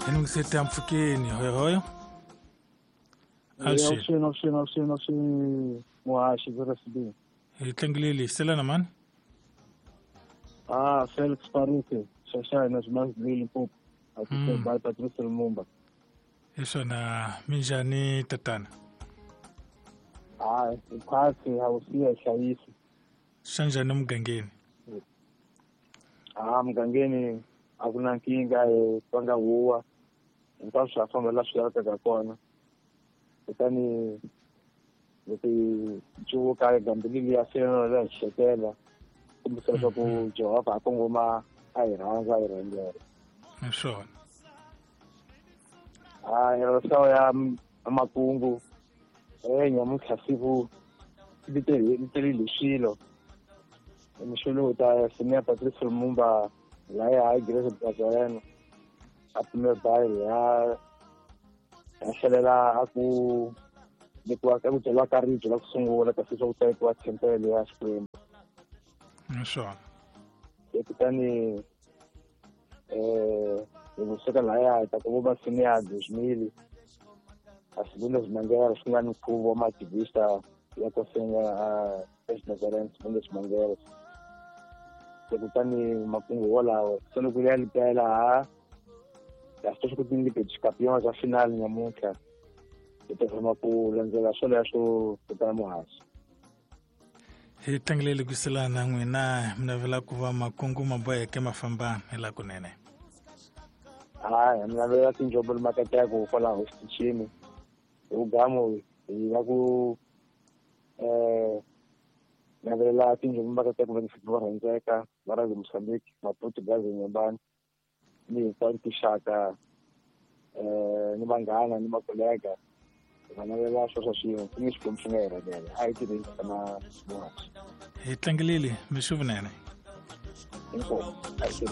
Hi lungisete mpfhukeni hoyohoyo. Avuxeni. Avuxeni, avuxeni, avuxeni, avuxeni, muhaxi ZSB. Hi tlangileli selana mani. Ah, Felix Paruke, Xaxai na Zimazwi Limpopo. Assisted by Patrice Lumumba. Hi swona minjhani tatana? Hayi, hi phasi a wu siya hi hlayisi. Swa njhani emugangeni? Ah, mugangeni a ku na nkingha hi twanga huwa. Hinkwaswo swa famba laha swi lavekaka kona. Kutani loko hi cuvuka gambili liya se ra hi xekela kombisa leswaku Jehovha a kongoma a hi rhandza a hi rhangela. Hi swona. Ah, nhlayo ya makungu nyamuntlha siku li telile swilo mixo lowu ta Senior Patrice Lumumba laya ha Grace Bazareno a pfume bayi ya hlalela a ku nyikiwa ku byeriwa ka ribye la ku sungula kasi swa ku tekiwa tempele ya Xikwembu. Hi swona. Kutani hi kusuka laya hi ta ku va senior 2000 a segunda Mangueira swi nga ni nkhuvo wa mativista ya Kosenga eNazarene Segunda Mangueira. Se kutani makungu wolawo se loko ya lipela ha ya swi ku tinlipe campeões a final nyamuntlha hi ta zama ku landzela swoleswo kutana muhaxi. Hi tlangilele ku selana n'wina mi navela ku va makungu ma boheke ma famba hi la kunene. Hayi, mi navela tinjombo ni makateko kwalaho xitichini hi vugamu hi va ku navelela tinjombo makateko va va rhandzeka va ra le Mozambique Maportugal Nyambani ni hinkwato tinxaka ni vanghana ni makolega va navela sweswo swin'we ku nge Xikwembu xi nga hi rhangela a hi tirheni na muhaxi. Hi tlangelile mixo vunene. Inkomu a hi tirheni.